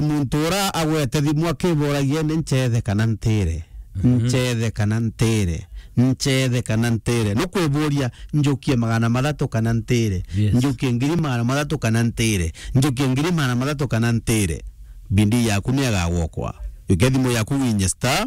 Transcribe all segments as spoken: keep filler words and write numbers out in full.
muntu ura agwete thimu akiboragia ni ncethe kana ntire. Mhm. Ncethe kana ntire. Ncethe kana ntire. Nukwiburia njukie magana mathatu kana ntire. Yes. Njukie ngiri magana mathatu kana ntire. Njukie ngiri magana mathatu kana ntire. Bindi yaku ni agagwokwa. Jukia thimu yaku winye star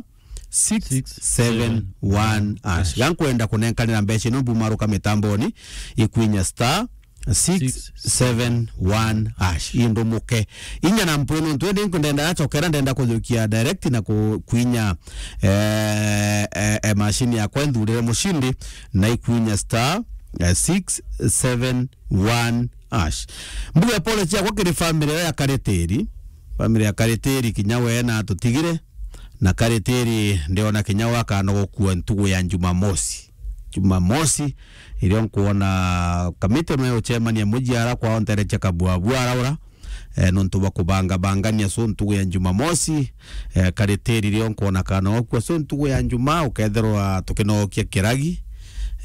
six seven one hash. Gankwenda kunenkanira mbeca ino mbumaruka mitamboni, ikwinya star six seven one hash. Indumuke. Inya na mpwino ntwende nkundenda yachokera ndenda kuthukia direct na ku-, kwinya, eh, eh, eh, machine yakwa nthurire mushindi na ikwinya star, eh, six seven one hash. Mbuge pole ciakwa kiri family ya Karitiri. Family ya Karitiri kinya we na atutigire. Na Karitiri ndiona kinya we akanogokua ntugu ya Jumamosi. Jumamosi, irio nkuona kamiti no ucemania mujiara kwao nterecha kabwabwa araura. Eh, nontu bwa kubangabangania so ntugu ya Jumamosi, eh, Karitiri rio nkona kana okua so ntugu ya Juma, ukethirwa tukinokia Kiragi,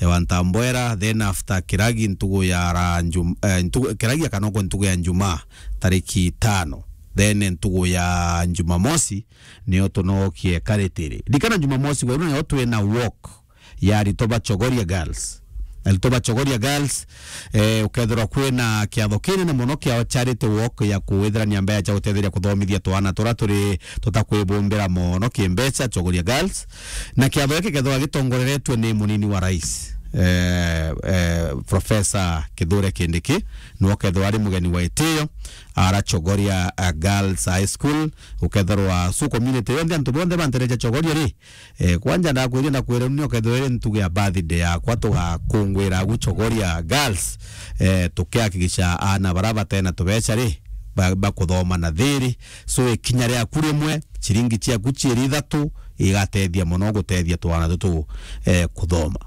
eh, wa Ntambwera, then after Kiragi ntugu ya ra Jum-, eh, ntugu, Kiragi akanokwa ntugu ya Juma, tariki tano. Then ntugu ya Jumamosi, nio tunokie Karitiri. Ndikana Jumamosi gwa nio twina walk ya arito ba Chogoria Girls. Arito ba Chogoria Girls, eh, ukethirwa kwina kiatho kinene mono kia charity walk ya kuwithirania mbeca cia gutetheria kuthomithia twana turia turi tutakwibumbira mono kimbeca, Chogoria Girls. Na kiatho giki kethirwa gitongoreretwe ni munini wa rais, eh, eh, Professor Kithure Kindiki, niwe ukethirwa ari mugeni wa itio, ara Chogoria, eh, Girls High School, ukethirwa su community yonthe, antu bonthe bantereja Chogoria ri, Eh, kwanja ndakwiria, ndakwira ni ukethirwa iri ntugu ya birthday yakwa, tugakungwira agu Chogoria Girls, eh, tukihakikisha aana bara batena tubeca ri, ba-, bakuthoma na thiri. So, ikinya riaku rimwe, ciringi ciaku ciiri ithatu, igatethia mono gutethia twana tutu, eh, kuthoma.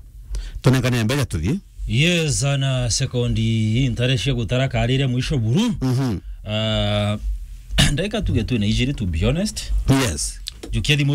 Tunengane mbeca tuthii. Yes, ana sekondi ntare cia gutara karire mwisho buru. Mhm. Ah, ndagika tuge twina ijiri, to be honest. Yes. Jukia thimu